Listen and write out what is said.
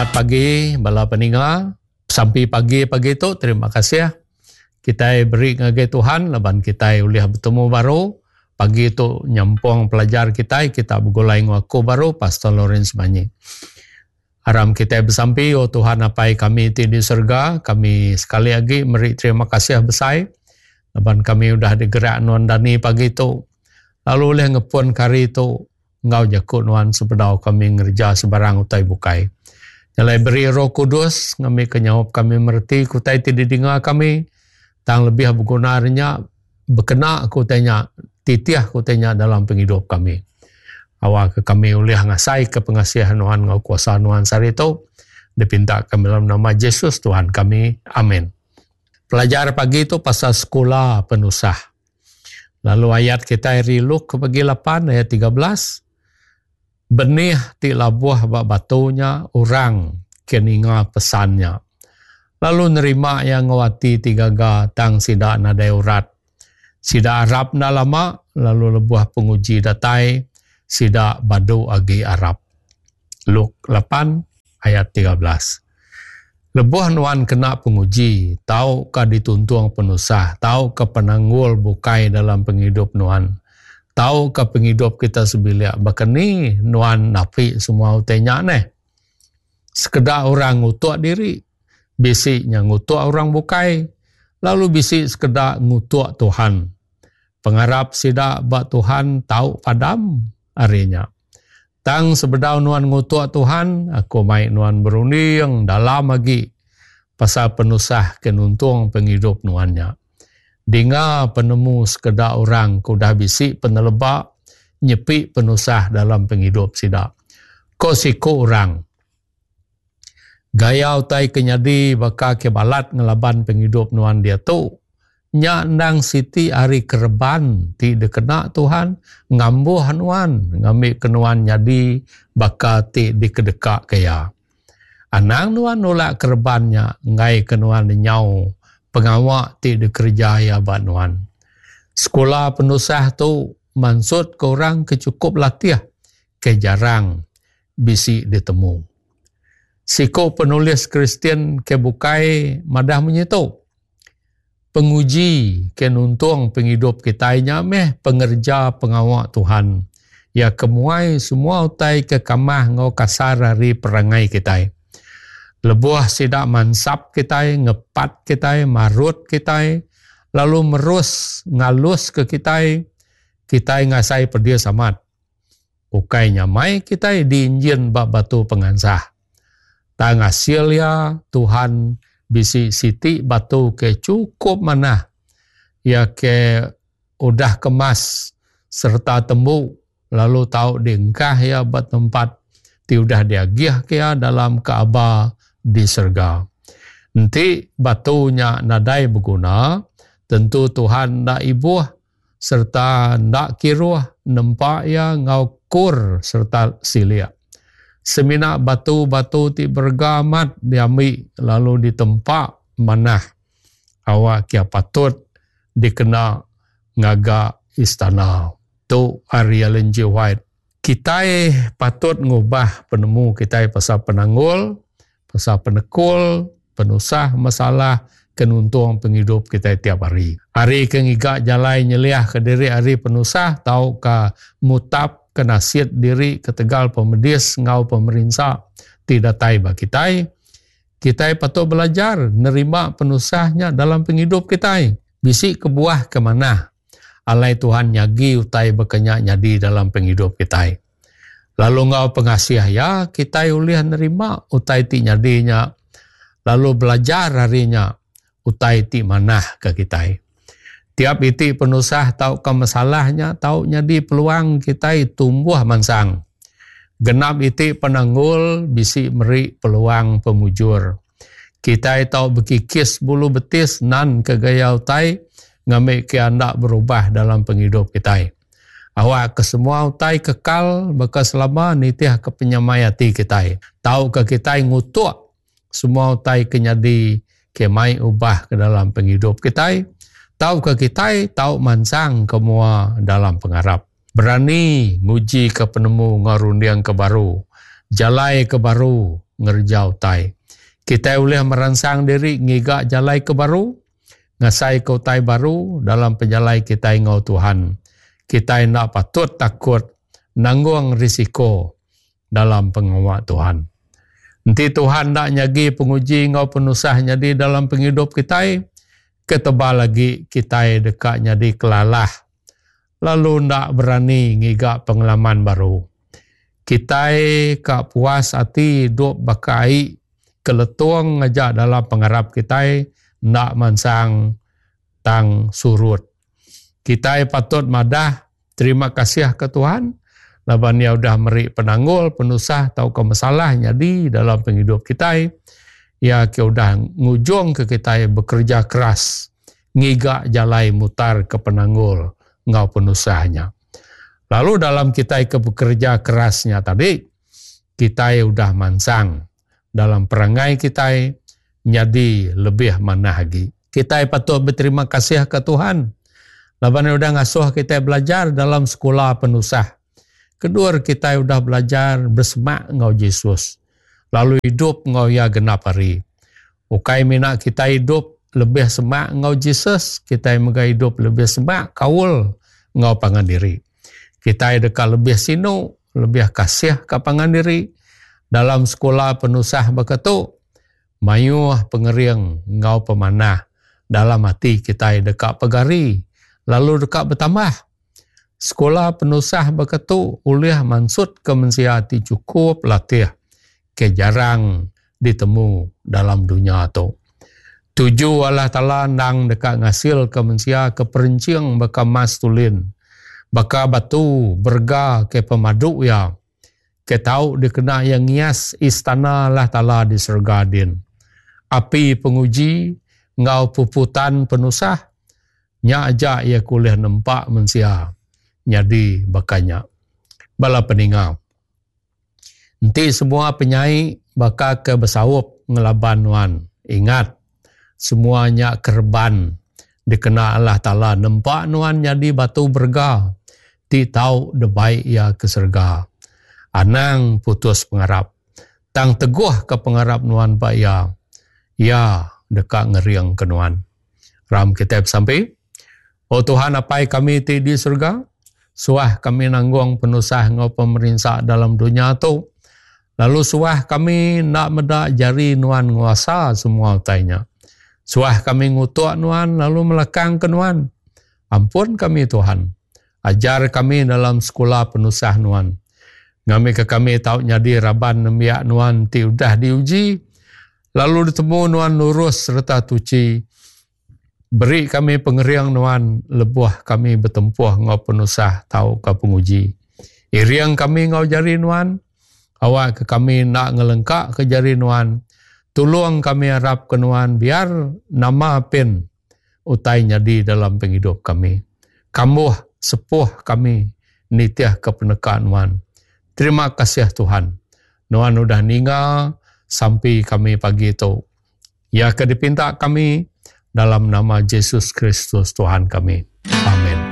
Selamat pagi bala peninga. Sampi pagi pagi tu terima kasih kitai beri ngagai Tuhan laban kitai ulih betemu baru pagi tu nyempung pelajar kitai kita begulai enggau aku baru Pastor Lawrence Manyi. Aram kitai besampi o Tuhan Apai kami ti di serega kami sekali agi meri terima kasih besai laban kami udah digerak nuan dani pagi tu lalu ulih ngepun ke hari tu enggau jaku nuan sebedau kami ngereja sebarang utai bukai. Nyalai beri Roh Kudus ngambika nyaup kami mereti ke utai ti didinga kami tang lebih beguna ari nya bekena ke utai nya titih ke utai nya dalam pengidup kami. Awakka kami ulih ngasaika pengasih nuan enggau kuasa nuan sehari tu dipinta kami dalam nama Jesus Tuhan kami. Amin. Pelajar pagi tu pasal sekula penusah. Lalu ayat kitai ari Luke bagi lapan ayat 13 benih ti labuh ba batu nya orang ke ninga pesan nya lalu nerima iya enggau ati ti gaga tang sida nadai urat. Sida arap enda lama lalu lebuh penguji datai sida badu agi arap. Luke lapan ayat 13. Lebuh nuan kena penguji tauka dituntung penusah tauka penanggul bukai dalam pengidup nuan tauka pengidup kita sebilik baka ni nuan napi semua utai nya neh. Sekeda orang ngutuk diri, bisi nya ngutuk orang bukai lalu bisi sekeda ngutuk Tuhan. Pengarap sida ba Tuhan tau padam ari nya. Tang sebedau nuan ngutuk Tuhan, aku mai nuan berunding dalam agi pasal penusah ke nuntung pengidup nuan nya. Dinga penemu sekeda orang ke udah bisi peneleba nyepi penusah dalam pengidup sida. Ko siku orang, Gaya utai ke nyadi baka ke balat ngelaban pengidup nuan diatu, nya endang siti ari kereban ti dikena Tuhan ngambuh nuan ngambika nuan nyadi baka ti dikedekaka Iya. Anang nuan nulak kereban nya enggaika nuan lenyau pengawa ti dikereja Iya ba nuan. Sekula penusah tu mansutka orang ke chukup latih ke jarang bisi ditemu. Siku penulis Kristian ke bukai madah munyi tu, Penguji ke nuntung pengidup kitai nya meh pengereja pengawa Tuhan. Iya ke muai semua utai ke kamah enggau kasar ari perangai kitai. Lebuh sida mansap kitai, ngepat kitai, marut kitai, lalu merus ngaluska kitai, kitai ngasai pedis amat. Ukai nyamai kitai diinjin ba batu pengansah. Tang asil iya, Tuhan bisi siti batu ke chukup manah, iya ke udah kemas sereta tembu lalu tau diengkah iya ba tempat ti udah diagihka iya dalam Kaaba di serega. Enti batu nya nadai beguna, tentu Tuhan enda ibuh sereta enda kiruh nempa iya enggau kur sereta silik. Semina batu-batu ti berega amat diambi lalu ditempa manah awak iya patut dikena ngaga istana. Tu ari Ellen G. White. Kitai patut ngubah penemu kitai pasal penanggul, pasal penekul, penusah, masalah ke nuntung pengidup kitai tiap hari. Ari ke ngiga jalai nyeliahka diri ari penusah tauka mutapka nasit diri ketegal pemedis enggau pemerinsa ti datai ba kitai, kitai patut belajar nerima penusah nya dalam pengidup kitai. Bisi kebuah ke manah alai Tuhan nyagi utai baka nya nyadi dalam pengidup kitai. Lalu enggau pengasih Iya, kitai ulih nerima utai ti nyadi nya lalu belajar ari nya utai ti manah ke kitai. Tiap iti penusah tauka masalah nya tau nyadi peluang kitai tumbuh mansang. Genap iti penanggul bisi meri peluang pemujur. Kitai tau bekikis bulu betis nan ke gaya utai ngambika enda berubah dalam pengidup kitai. Awakka semua utai kekal baka selama nitihka penyamai ati kitai. Tauka kitai ngutuk semua utai ke nyadi ke mai ubah ke dalam pengidup kitai, tauka kitai tau mansang ke mua dalam pengarap. Berani ngujika penemu enggau runding ke baru, jalai ke baru. ngereja utai. Kitai ulih meransang diri ngiga jalai ke baru, ngasaika utai baru dalam pejalai kitai enggau Tuhan. Kitai enda patut takut nanggung risiko dalam pengawa Tuhan. Enti Tuhan enda nyagi penguji enggau penusah nyadi dalam pengidup kitai, ke tebal agi kitai deka nyadi kelalah lalu enda berani ngiga pengalaman baru. Kitai ka puas ati idup baka ai ke letung aja dalam pengarap kitai enda mansang tang surut. Kitai patut madah terima kasih ke Tuhan laban iya udah meri penanggul, penusah tauka masalah nyadi dalam pengidup kitai. Iya ke udah ngujungka kitai bekereja keras ngiga jalai mutarka penanggul enggau penusah nya. Lalu dalam kitai ke bekereja keras nya tadi, kitai udah mansang dalam perangai kitai nyadi lebih manah agi. Kitai patut beterima kasih ke Tuhan laban iya udah ngasuh kitai belajar dalam sekula penusah. Keduar kitai udah belajar besemak enggau Jesus lalu idup enggau iya genap hari. Ukai mina kitai idup lebih semak enggau Jesus, kitai mega idup lebih semak kaul enggau pangan diri. Kitai deka lebih sinu, lebih kasih ka pangan diri. Dalam sekula penusah baka tu, mayuh pengering enggau pemanah dalam ati kitai deka pegari lalu deka betambah. Sekula penusah baka tu ulih mansutka mensia ti chukup latih ke jarang ditemu dalam dunya tu. Tuju Allah Taala endang deka ngasilka mensia ke perenching baka emas tulin, baka batu berega ke pemadu iya, ke tau dikena iya ngias istana Allah Taala di serega din. Api penguji enggau puputan penusah nya aja iya ke ulih nempa mensia nyadi baka nya. Bala peninga. Enti semua penyai baka ke besaup ngelaban nuan, ingat, semua nya kereban dikena Allah Taala nempa nuan nyadi batu berega ti tau dibai Iya ke serega. Anang putus pengarap, tang teguhka pengarap nuan ba Iya. Iya deka ngeringka nuan. Ram kitai besampi. O Tuhan Apai kami ti di serega, suah kami nanggung penusah enggau pemerinsa dalam dunya tu, lalu suah kami enda meda jari Nuan nguasa semua utai nya. Suah kami ngutuk Nuan lalu melakangka Nuan. Ampun kami Tuhan. Ajar kami dalam sekula penusah Nuan. Ngambika kami tau nyadi raban nembiak Nuan ti udah diuji lalu ditemu Nuan lurus sereta tuchi. Beri kami pengering Nuan lebuh kami betempuh enggau penusah tauka penguji. Iring kami enggau jari Nuan, awakka kami enda ngelengkaka jari Nuan. Tulung kami arapka Nuan biar nama pin utai nyadi dalam pengidup kami. Kambuh sepuh kami nitihka peneka Nuan. Terima kasih Tuhan. Nuan udah ninga sampi kami pagi tu. Iya ke dipinta kami dalam nama Jesus Kristus Tuhan kami. Amin.